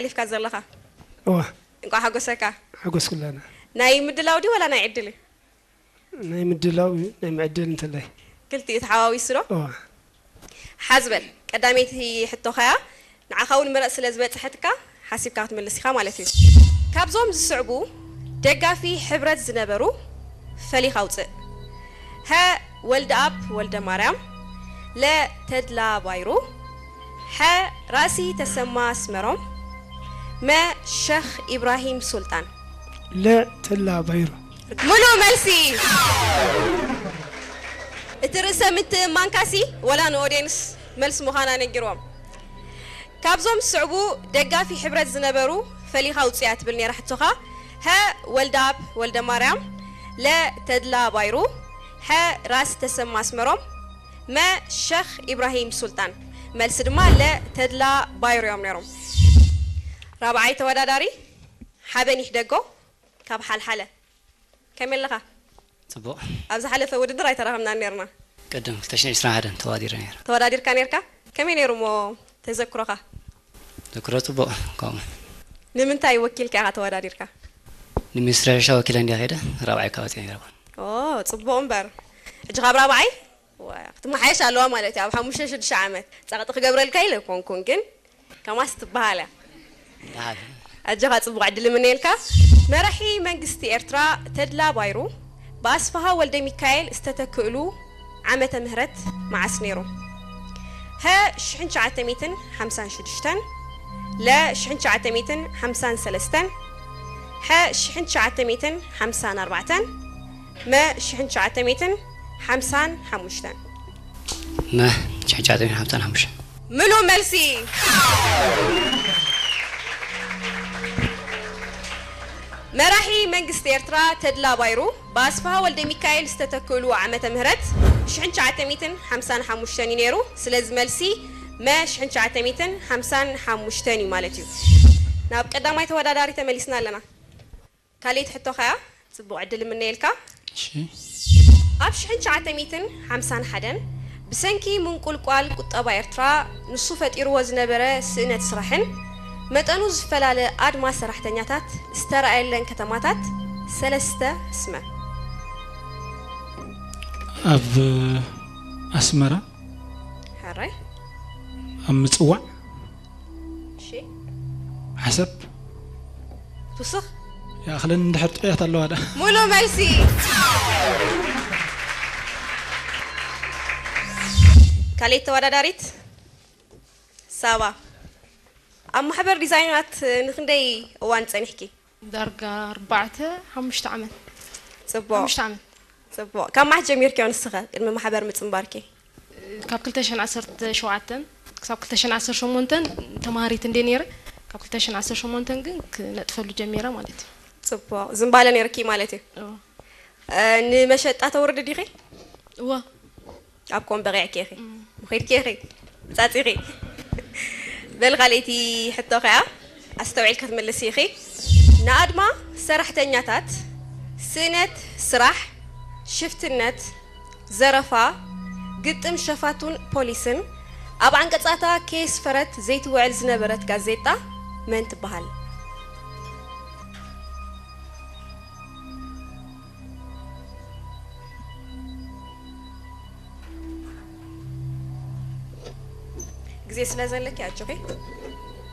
ኣሕሊፍካ ዘለኻ? እዋ እንኳዕ ሓጎሰካ። ሓጎስ ኩላና። ናይ ምድላው ድዩ ወላ ናይ ዕድል እዩ? ናይ ምድላው እዩ፣ ናይ ምዕድል እንተላይ። ክልቲኡ ተሓዋዊሱ ዶ? እዋ ሓዝበል ቀዳመይቲ ሕቶኻያ ንዓኻ እውን ምረፅ ስለ ዝበፅሐትካ ሓሲብካ ክትምልስ ኢኻ ማለት እዩ። ካብዞም ዝስዕቡ ደጋፊ ሕብረት ዝነበሩ ፈሊኻ ኣውፅእ። ሀ ወልደኣብ ወልደ ማርያም፣ ለ ተድላ ባይሩ፣ ሐ ራሲ ተሰማ ኣስመሮም፣ መ ሸኽ ኢብራሂም ሱልጣን። ለ ተላ ባይሩ። ሙሉእ መልሲ። እቲ ርእሰ ምትእምማንካሲ ወላ ንኦድየንስ መልሲ ምዃና ነጊርዎም። ካብዞም ዝስዕቡ ደጋፊ ሕብረት ዝነበሩ ፈሊኻ ውፅያ ትብል ነይራ ሕቶኻ። ሀ ወልደኣብ ወልደ ማርያም፣ ለ ተድላ ባይሩ፣ ሐ ራስ ተሰማ ኣስመሮም፣ መ ሸኽ ኢብራሂም ሱልጣን። መልሲ ድማ ለ ተድላ ባይሩ እዮም ነይሮም። ራብዓይ ተወዳዳሪ ሓበን ይሕደጎ ካብ ሓልሓለ። ከመይ ኣለኻ? ፅቡቕ። ኣብ ዝሓለፈ ውድድር ኣይተራኸብናን ነርና። ቅድም ክልተ ሽሕን ዕስራን ሓደን ተዋዲረ ነይረ። ተወዳዲርካ ነርካ? ከመይ ነይሩ እሞ ተዘክሮኻ? ዘክሮ ፅቡቕ። ከምኡ ንምንታይ ወኪልካ ኢኻ ተወዳዲርካ? ንሚኒስትሪ ሕርሻ ወኪለ እንዲያ ከይደ ራብዓይ ካብ ወፅአ ነይረ። ኦ፣ ፅቡቕ እምበር። ሕጂ ካብ ራብዓይ ዋ፣ ክትመሓየሽ ኣለዋ ማለት እዩ። ኣብ ሓሙሽተ ሽዱሽተ ዓመት ጸቕጢ ክገብረልካ ኢለ ኣይኮንኩን፣ ግን ከማስ ትበሃል እያ። ደሓን። ኣጆኻ፣ ጽቡቕ ዕድል እምነየልካ። መራሒ መንግስቲ ኤርትራ ተድላ ባይሩ ብኣስፍሃ ወልደ ሚካኤል ዝተተክእሉ ዓመተ ምህረት መዓስ ነይሩ? ሀ ሽሕን ትሽዓተ ሚእትን ሓምሳን ሽዱሽተን፣ ለ ሽሕን ትሽዓተ ሚእትን ሓምሳን ሰለስተን፣ ሐ ሽሕን ትሽዓተ ሚእትን ሓምሳን ኣርባዕተን፣ መ ሽሕን ትሽዓተ ሚእትን ሓምሳን ሓሙሽተን። መ ሽሕን ትሽዓተ ሚእትን ሓምሳን ሓሙሽተን። ምሉእ መልሲ። መራሒ መንግስቲ ኤርትራ ተድላ ባይሩ ብኣስፍሃ ወልደ ሚካኤል ዝተተክእሉ ዓመተ ምህረት ሽሕን ትሽዓተ ሚእትን ሓምሳን ሓሙሽተን እዩ ነይሩ። ስለዚ መልሲ መ ሽሕን ትሽዓተ ሚእትን ሓምሳን ሓሙሽተን እዩ ማለት እዩ። ናብ ቀዳማይ ተወዳዳሪ ተመሊስና ኣለና። ካልኣይቲ ሕቶኻ እያ። ጽቡቕ ዕድል እምነየልካ። እሺ። ኣብ ሽሕን ትሽዓተ ሚእትን ሓምሳን ሓደን ብሰንኪ ምንቁልቋል ቁጠባ ኤርትራ ንሱ ፈጢርዎ ዝነበረ ስእነት ስራሕን መጠኑ ዝፈላለ ኣድማ ሰራሕተኛታት ዝተራእየለን ከተማታት ሰለስተ ስመ። ኣብ ኣስመራ፣ ሕራይ። ኣብ ምጽዋዕ፣ እሺ። ዓሰብ። ትውስኽ። ይኣኽለን እንድሕር ጥዑያት ኣለዋ ዳ። ሙሉእ መልሲ። ካልኣይቲ ተወዳዳሪት ሳባ፣ ኣብ ማሕበር ዲዛይናት ንክንደይ እዋን ጸኒሕኪ? ዳርጋ ኣርባዕተ ሓሙሽተ ዓመት። ጽቡቕ። ሓሙሽተ ዓመት። ጽቡቕ። ካብ መዓስ ጀሚርኪዮ ንስኸ ቅድሚ ማሕበር ምጽንባርኪ? ካብ ክልተ ሽሕን ዓሰርተ ሸውዓተን ክሳብ ክልተ ሽሕን ዓሰርተ ሸሞንተን ተማሃሪት እንደ ነይረ፣ ካብ ክልተ ሽሕን ዓሰርተ ሸሞንተን ግን ክነጥፈሉ ጀሚረ ማለት እዩ። ጽቡቕ። ዝንባለ ነይርኪ ማለት እዩ። እዎ። እ፣ ንመሸጣ ተውርዲ ዲኺ? እዎ። ኣብ ኮም በቂዕኪ ኢኺ። ምኺድኪ ኢኺ። ጻጺኺ። በል ካልኣይቲ ሕቶ ከኣ ኣስተውዒልኪ ክትምልሲ ኢኺ። ንኣድማ ሰራሕተኛታት ስእነት ስራሕ፣ ሽፍትነት፣ ዘረፋ፣ ግጥም ሸፋቱን ፖሊስን ኣብ ዓንቀጻታ ከየስፈረት ዘይትውዕል ዝነበረት ጋዜጣ መን ትበሃል? ግዜ ስለ ዘለኪ ኣጆኺ።